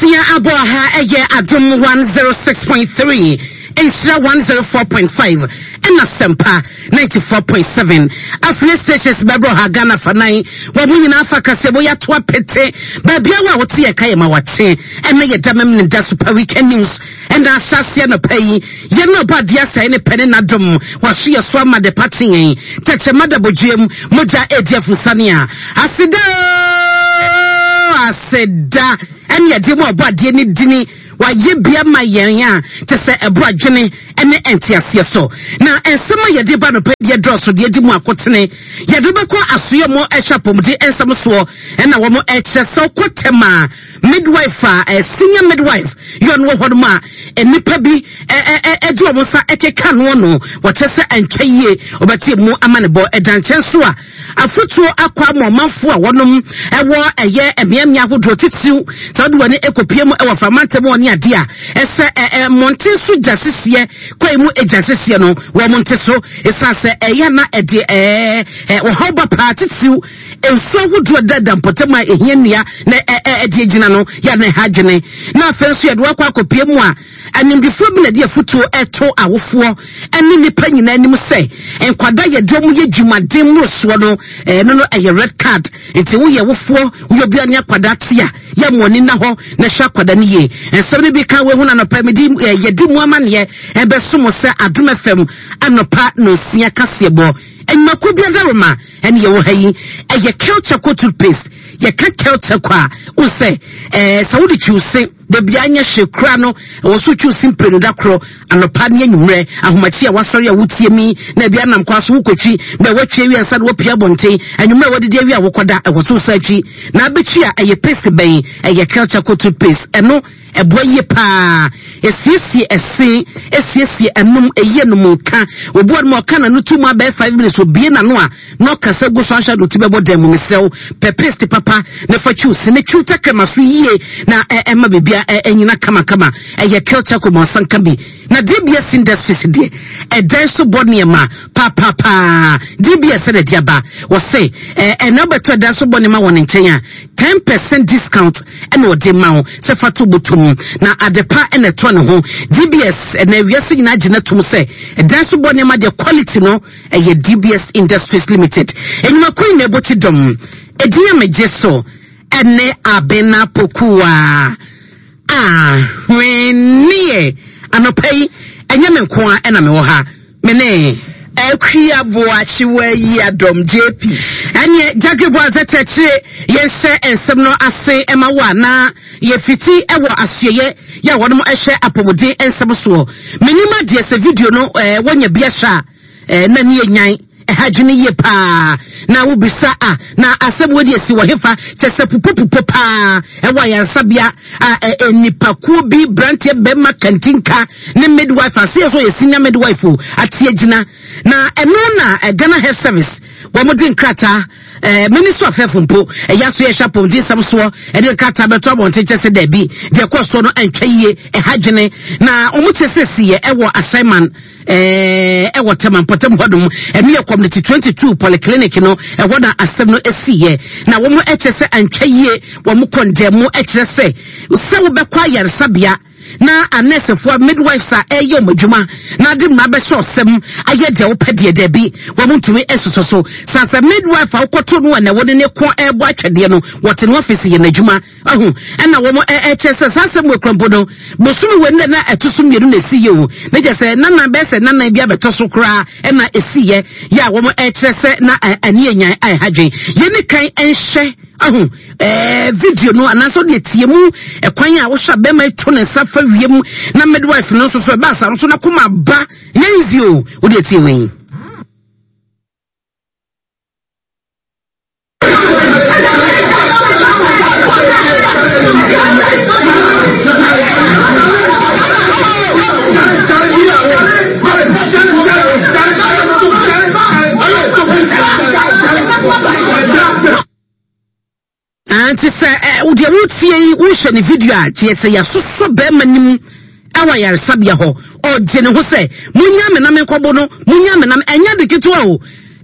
Nonsia abɔ ha ɛyɛ Adom 106.3, Nhyira 104.5 ɛna Sɛmpa 94.7. Affiliate stations bɛbrɔ ha Ghana fa nan. Wɔn mo nyinaa fa kaseɛbɔ yi ato apete. Baabi a wo a wote yɛn ka yɛ ma wakye. Ɛnɛ yɛ da mem ne da super weekend news. Ɛna ahyɛaseɛ anɔpa yi, yɛn na ɔbɔ adeɛ asɛe ne pɛ ne n'adom, waso yɛ so ama de pa kye yɛn, tɛkyerɛma da bodweam, mogya ɛredi afurusane a, aseda oo, aseda, ɛne yɛde ma ɔbɔ adeɛ ne dini, wayɛ bi ama yɛn a, kyɛ sɛ ɛboro adwene ne nteaseɛ so. Na nsɛm a yɛde ba anɔpa yi deɛ dɔɔso deɛ di mu akotene, yɛde wobɛkɔ asoɛ mu ɛhwɛ apɔmuden nsɛm soɔ, ɛna wɔn ɛkyerɛ sɛ wokɔ tɛm a, Midwife a eh, senior midwife yɛ ɔno wɔ hɔ nom a nnipa bi ɛde wɔn nsa ɛkeka noɔ no wɔkyɛ sɛ ɛntwa yie ɔbɛte mu ama ne bɔ ɛda nkyɛn so a afotuo akɔ ama ɔmanfoɔ a wɔnom ɛwɔ ɛyɛ mmeammea ahodoɔ titiriw sɛ wɔde wɔn ɛkɔpie mu ɛwɔ framantam wɔ ne adeɛ a ɛsɛ ɛɛ mmɔnten so gya hyehyeɛ kwan mu gya hyehyeɛ no wɔn nte so ɛsiane sɛ ɛyɛ na ɛde ɛɛ ɔhaw ba paa titiriw Nsu ahodoɔ a ɛdeda mpɔtam a ɛhia nnua na ɛde agyina no yɛ na ɛha adwene. Na afei nso yɛde wakɔ akɔpie mu a animdefoɔ bi na ɛde afutuo ɛto awofoɔ ɛne nnipa nyinaa anim sɛ nkwadaa yɛde wɔn yɛ dwumaden mmorosoɔ no ɛno no ɛyɛ red card. Nti woyɛ wofoɔ woyɛ obi a ne akwadaa te a yɛ mo ani na hɔ na hwɛ akwadaa no yie. Nsɛm no bi ka woahu no anɔpa mede yɛdi mu amaneɛ ɛbɛso mo sɛ Adom FM anɔpa nonsia kaseɛbɔ. Nnwumakuo bi adaworoma ɛne yɛwɔ ha yi ɛyɛ Kelchako toothpaste. Yɛka Kelchako a, wohu sɛ ɛɛ sɛ wode twiw se da biara nyɛ hwee koraa no, ɛwɔ so twiw se mprenu da koro, anɔpa ne anwummerɛ, ahomakye a wasɔre a wotie mi na ebi anam kwa so wokɔtwi na watwi awie ansa na wapue abɔnten, anwummerɛ a wadidi awie a wokɔda, ɛwɔ so wosan twi. Na abɛtwi a ɛyɛ paste bɛn? Ɛyɛ Kelchako toothpaste. Ɛno Ɛboa yie paa. Ɛsiesie ɛse, ɛsiesie anum, ɛyi anum nka. Obi wɔ nom a ɔka n'ano to mu abɛyɛ 5 minutes, obie n'ano a na ɔkasa gu so ahwɛ ade oti bɛbɔ dan mu. Mesrɛ wo, pɛ paste papa na fa twiw se na twiw tɛkrɛma so yie na ɛma biribiara ɛnyina kamakama. Ɛyɛ Kelchako ma ɔsan ka bi. Na DBS Industries deɛ, ɛdan so bɔ nneɛma paapapaa. DBS na ɛde aba. Wɔse, ɛna wobɛtɔ ɛdan so bɔ nneɛma wɔ ne nkyɛn a, 10% discount ɛna ɔde ma wo sɛ fa to bɔtɔ mu. Na adepa ɛna ɛtɔ ne ho. DBS, ɛna wiase nyinaa gye no tom sɛ, ɛdan so bɔ nneɛma deɛ quality no, ɛyɛ DBS Industries Limited. Enyumakuo nyinaa ɛbɔ ti dɔm. Edin a megye so ɛne Abena Pokuaa. Ahweneɛ! Anɔpa yi, ɛnyɛ me nko ara na mewɔ ha. Me ne. Akua Boakye Wayiadom, JP. Ɛneɛ Jagre Boazɛ kyerɛkyerɛ yɛnhyɛ nsɛm no ase ma wo a na yɛfiti wɔ asoɛyɛ yɛ a wɔnom hwɛ apɔmuden nsɛm soɔ. Menim adeɛ sɛ video no wɔnya bi ahwɛ a. Eh, na ne yɛ nyan. Ɛha adwene yie paa. Na wobisa a, na asɛm wei deɛ si wɔ hefa? Kyɛ sɛ pupopupo paa ɛwɔ ayaresabea a ɛ, nnipakuo bi, branteɛ bɛrima kantinka ne midwife ase yɛ sɛ ɔyɛ senior midwife o, ate agyina. Na ɛno na Ghana Health Service wɔn de nkrataa eh, Ministry of Health mpo ɛyɛ aso yɛhwɛ apɔmuden nsɛm soɔ ɛde nkrataa bɛto abɔnten kyɛ sɛ daabi deɛ ɛkɔɔ soɔ no ɛntwa yie ɛha adwene na wɔn kyɛ sɛ siyɛ ɛwɔ assignment Ɛɛ wɔ Tema mpɔtam hɔnom, ɛno yɛ Community 22 Polyclinic no, ɛhɔ na asɛm no siiɛ. Na wɔn kyerɛ sɛ antwa yie, wɔn kɔndɛm kyerɛ sɛ sɛ wobɛkɔ ayaresabea na anɛɛsefoɔ midwives a ɛreyɛ wɔn adwuma na ade mmara bɛhyɛ ɔsɛm ayɛ deɛ wopɛ deɛ daabi wɔn ntumi nsosɔ so. San sɛ midwife a wokɔto no a na wɔne ne ko ɛrebɔ atwɛdeɛ no wɔte no office yɛ n'adwuma. Ahu, ɛna wɔn ɛkyerɛ sɛ saa asɛm wɔ kura mpo no, bosome wɔ nna na ɛto so mmienu na esi yɛ o. Ne kyerɛ sɛ nanan bɛyɛ sɛ nanan bi abɛtɔ so koraa ɛna esi yɛ yɛ a wɔn ɛkyerɛ sɛ na ani enyan a ɛha dwen. Yɛn ni kan ɛnhyɛ ahu ɛɛ video no anaasɛ ɔde etie mu ɛkwan a wohyɛ abɛɛma eto ne nsa fa wiem na midwife no nso so ɛba asa no so na koma ba yɛn nzi o wode etie wei. Nti sɛ deɛ wotie yi wohwɛ ne video a kyerɛ sɛ yɛasosɔ bɛrima no mu ɛwɔ ayaresabea hɔ ɔgye ne ho sɛ munya me na menkɔbo no munya me na ɛnyɛ de ketewa o.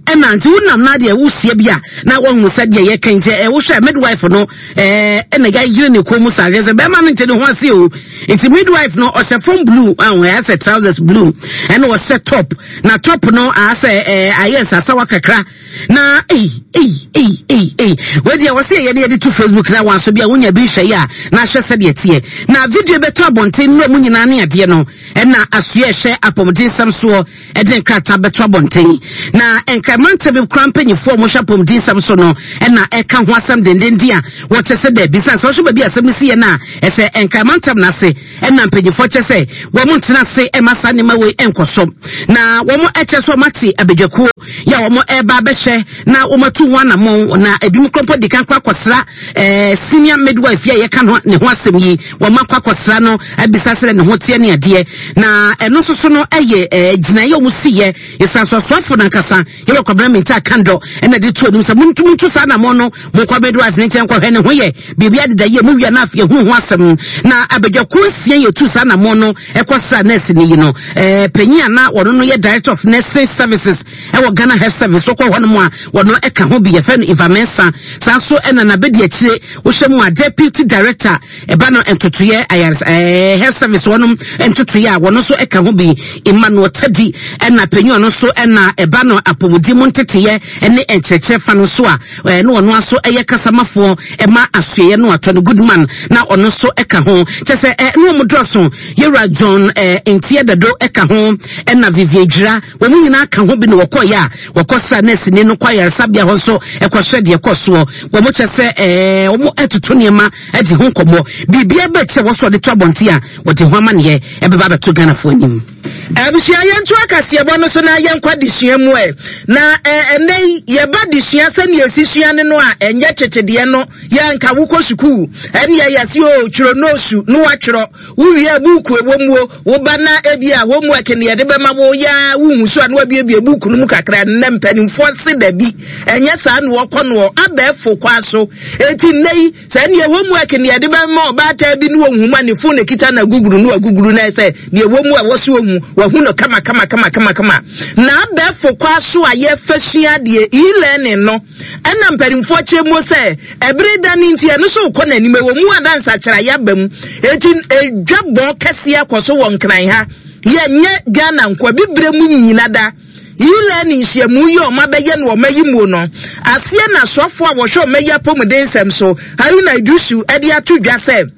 Ɛna nti wonam na deɛ wohyia bi a na woahunu sɛ deɛ yɛka nti ɛ wohwɛ midwife no ɛɛ ɛna yɛayere ne kɔn mu saa kyerɛ sɛ bɛrima no nte ne ho ase o. Nti midwife no ɔhyɛ fam blue ɛho ɛyɛ sɛ trousers blue ɛna ɔhyɛ top na top no asɛ ɛɛ ayɛ nsasawa kakra na ei ei ei ei ei wei deɛ wɔsɛ yɛde yɛde to Facebook na wɔn aso bi a wonya bi nhwɛ yɛ a na ahwɛ sɛdeɛ teɛ na video bɛtɔ abɔnten nnura mu nyinaa ne adeɛ no ɛna asoɛ ɛhwɛ apɔmuden nsɛm soɔ ɛde nkrataa bɛto abɔnten. Na Nkran mantam bi koraa mpanyinfoɔ a wɔhwɛ apɔmuden nsɛm so no na ɛka ho asɛm dendenden a wɔkyɛ sɛ daabi sane sɛ wɔhwɛ baabi a asɛm no si yɛ no a ɛsɛ Nkran mantam no ase ɛna mpanyinfoɔ kyɛ sɛ wɔn ntena ase ɛma saa nneɛma wei ɛnkɔ so na wɔn ɛkyɛ sɛ wɔn ate abadwakuo yɛ a wɔn ɛreba abɛhyɛ na wɔn atu ho anamɔn na ebinom koraa mpo di kan kɔ akɔsra ɛɛ senior midwife yi a yɛka ne ho asɛm yi Wɔn akɔ akɔsra no abisa sɛdeɛ ne ho teɛ ne adeɛ. Na ɛno nso so no yɛ ɛɛ gyinaeɛ a wɔsiiɛ. Nsansoasoafo no ankasa, Yɛwɔ Kwabena Mintah Kandor ɛna de to anim sɛ montu montu saa anammɔn no, monkɔ midwife no nkyɛn nkɔhwɛ ne ho yɛ biribi adeda yie, mowie a na afei yɛhunu ho asɛm. Na abadwakuo nsia yɛtu saa anammɔn no kɔsraa nɛɛseni yi no. Ɛɛ panyin a na ɔno no yɛ Director of Nursing Services ɛwɔ Ghana Health Service, wokɔ hɔnom a wɔno ɛka ho bi, yɛfrɛ no Eva Mensah. Saa nso ɛna n'abadiakyire Wohwɛ mu a, Deputy Director ɛba no ntotoeɛ ayaresa ɛɛ health service wɔnom ntotoeɛ a wɔn nso ɛka ho bi. Emmanuel Tadi ɛna panyin ɔno nso ɛna ɛba no apɔmuden mu nteteeɛ ɛne nkyerɛkyerɛ fa no nso a ɛɛ na ɔno nso ɛyɛ kasamafoɔ ɛma asoɛeɛ no atɔ no Goodman na ɔno nso ɛka ho. Kyɛ sɛ ɛɛ ne wɔn dɔɔso. Yɛwura John ɛɛ Ntiɛ Dado ɛka ho ɛna Vivian Dwira. Wɔn nyinaa ka ho bi na wɔkɔeɛ a wɔkɔsraa nɛɛseni no kɔ ayaresabea hɔ nso kɔhwɛ deɛ ɛkɔ soɔ. Wɔn kyɛ sɛ ɛɛ wɔn atutu nneɛma adi ho nkɔmmɔ. Biribiara ba akyire a wɔsɔ de to abɔnten a wɔde ho amaneɛ ɛbɛba abɛto Ghanafoɔ anim. Abusua, yɛnto akaseɛbɔ no so na yɛnkɔ adesua mu ɛ. Na ɛnnɛ yi, yɛba adesua sɛnea yɛsi sua no no a, ɛnyɛ tete deɛ no. Yɛ anka wokɔ sukuu, ɛnneɛ yɛse o, twerɛ noosu, na woatwerɛ. Wowie a, buuku ɛwɔ mu o, Wo ba na ebia homework na yɛde bɛma wo yɛ a wonhu so a na wabuebue book no mu kakra. Nnɛ mpanimfoɔ se dabi, ɛnyɛ saa na wɔkɔ noɔ, abɛɛfo kwa so. Enti nnɛ yi, sɛ ɛneɛ homework na yɛde bɛma ɔbaatan bi na ɔnhu mu a, ne phone na ɛkita na aguguru na waguguru na ɛsɛ deɛ ɛwɔ mu a ɛwɔ so ɔhu, wahu no kama kama kama kama kama. Na abɛɛfo kwa so a yɛfa sua adeɛ, e-learning no, Ɛna mpanimfoɔ kyerɛ mu sɛ ɛbere da no nti ɛno nso rekɔ n'anim. Ɛwɔ mu a na nsakyeraeɛ aba mu. Enti edwa bɔ kɛseɛ akɔ so wɔ Nkran ha. Yɛnyɛ Ghana nko, abibire mu nyina da. E-learning nhyiamu yi a wɔabɛyɛ no wɔn ayi muo no aseɛ na soafoɔ a wɔhwɛ wɔn ayi apɔmuden nsɛm so, Haruna Iddrisu de ato dwa sɛ,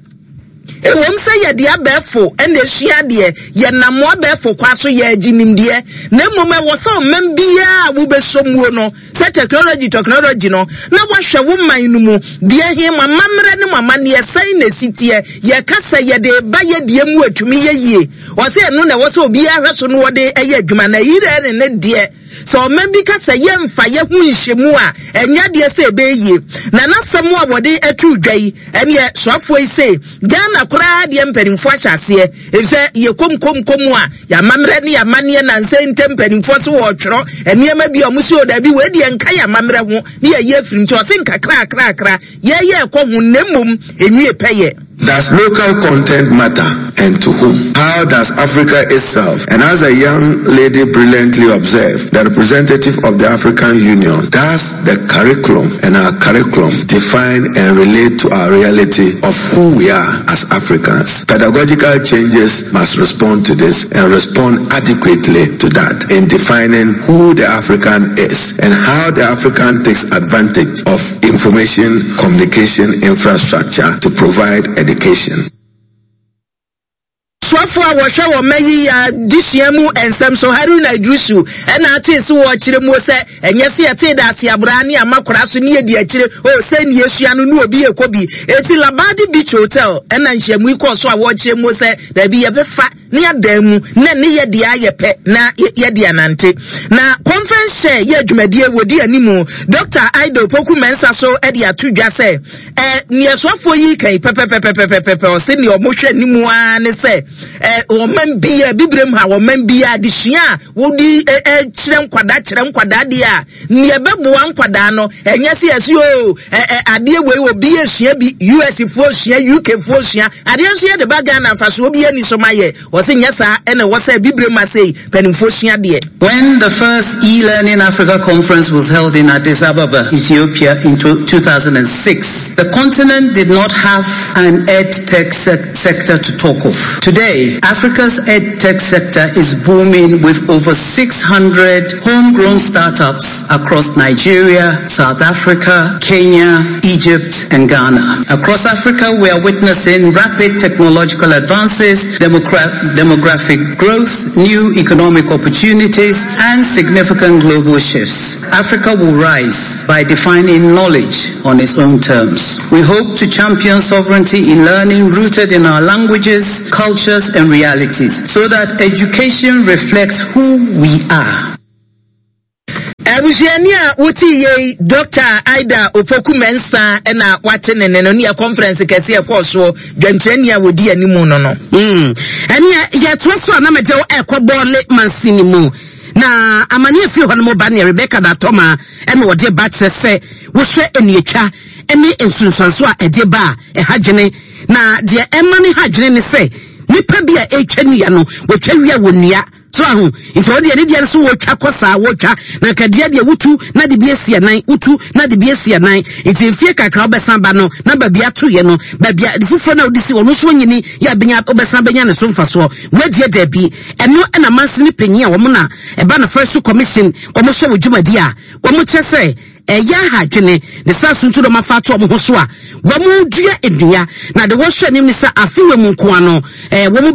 Ɛwom sɛ yɛde abɛɛfo na esua adeɛ, yɛnam abɛɛfo kwa so yɛregye nimdeɛ, na mmom ɛwɔ sɛ ɔman biara a wobɛsɔ muo no, sɛ technology technology no, na woahwɛ wo man no mu deɛ he, mo amammerɛ ne mo amanneɛ sɛn na ɛsi teɛ, yɛka sɛ yɛde reba yɛ deɛ mu atumi yɛ yie. Ɔsɛ ɛno na ɛwɔ sɛ obiara hwɛ so na ɔde yɛ adwuma, na e-learning no deɛ, Sɛ ɔman bi ka sɛ yɛmfa yɛn ho nhyɛ mu a, ɛnyɛ adeɛ sɛ ɛbɛyɛ yie. Na n'asɛm a wɔde to dwa yi, ɛneɛ soafoɔ yi se Ghana koraa deɛ mpanimfoɔ ahyɛ aseɛ, efisɛ yɛ kom kom kom a, yɛn amammerɛ ne yɛn amanneɛ nansa yi ntam mpanimfoɔ se wɔretwerɛ nneɛma bi a wɔn se o daabi wei deɛ nka yɛn amammerɛ ho ne yɛyi afiri mu. Nti ɔse nkakrakrakra yɛyɛ ɛkɔ ho na mmom ɛnwie pɛyɛ. Does local content matter and to whom? How does Africa itself, and as a young lady brilliantly observed, the representative of the African Union, does the curriculum and our curriculum define and relate to our reality of who we are as Africans? Pedagogical changes must respond to this and respond adequately to that in defining who the African is and how the African takes advantage of information communication infrastructure to provide education. Soafo a wɔhwɛ wɔ mma yi adesua mu nsɛm so, Haruna Iddrisu, na atee se wɔrekyerɛ muo sɛ ɛnyɛ se yɛtee da ase abraa ne ama kora so ne yɛdi akyire o sɛ nea esua no ne obi rekɔ bi. Enti Labadi Beach Hotel na nhyiamu yi kɔɔ so a wɔrekyerɛ muo sɛ daabi yɛbɛfa ne adan mu na ne yɛ deɛ ayɛ pɛ na yɛde anante. Na conference chair yɛ dwumadie wɔdi animu Dr. Aida Opoku Mensah so de ato dwa sɛ ɛ neɛ soafoɔ yi kan pɛpɛpɛpɛpɛpɛ ɔse neɛ ɔmo hwɛ ne mu ara ne sɛ. eh, ɔman biara, bibirem ha, ɔman biara adesua a wode kyerɛ nkwadaa kyerɛ nkwadaa deɛ a, nea ɛbɛboa nkwadaa no, ɛnyɛ sɛ yɛse o, adeɛ wei obi esua bi, US foɔ sua, UK foɔ sua, adeɛ nso yɛde ba Ghana mfasoɔ bi ani so ma yɛ. Wɔse nyɛ saa ɛna ɛwɔ sɛ bibirem ha sei mpanimfoɔ sua deɛ. When the first e-Learning Africa conference was held in Addis Ababa, Ethiopia in 2006, the continent did not have an ed-tech se sector to talk of. Today, Africa's ed-tech sector is booming with over 600 homegrown startups across Nigeria, South Africa, Kenya, Egypt, and Ghana. Across Africa, we are witnessing rapid technological advances, demogra- demographic growth, new economic opportunities, and significant global shifts. Africa will rise by defining knowledge on its own terms. We hope to champion sovereignty in learning rooted in our languages, cultures, and realities so that education reflects who we are. Abusuani a wote yei Dr. Ida Opoku Mensah na wate ne ne no ne conference kɛse ɛkɔɔ soɔ dwamtirani a wɔdi anim no no. Mm. Ɛneɛ yɛtoa so a na mede wo ɛkɔ bɔɔle mansini mu na amane afiri hɔ no mu ba neɛ Rebecca Datɔma ɛna wɔde ba kyerɛ sɛ wohwɛ nnuatwa ne nsunsuanso a ɛde ba a ɛha dwene na deɛ ɛma ne ha dwene ne sɛ nipa bi a ɛretwa nnua no wɔtwa wia wɔ nnua So ahu? Nti ɔno deɛ ne deɛ no so wɔtwa kɔ saa wɔtwa na nka deɛ deɛ wotu na de bi asi anan wotu na de bi asi anan nti mfie kakra wobɛsan ba no na baabi ato yɛ no baabi a foforɔ na wode si ɔno nso onyini yɛ abɛnya wobɛsan bɛnya ne so mfasoɔ wɔadiɛ daabi ɛno ɛna mansini panyin a wɔn na ɛba no forestry commission wɔn hyɛ wɔ dwumadi a wɔn kyɛ sɛ ɛyɛ aha adwene ne saa so nti na wɔafa ato wɔn ho so a wɔn dua nnua na de wɔhwɛ anim ne sɛ afe wɔ mu nkoa no ɛɛ wɔn.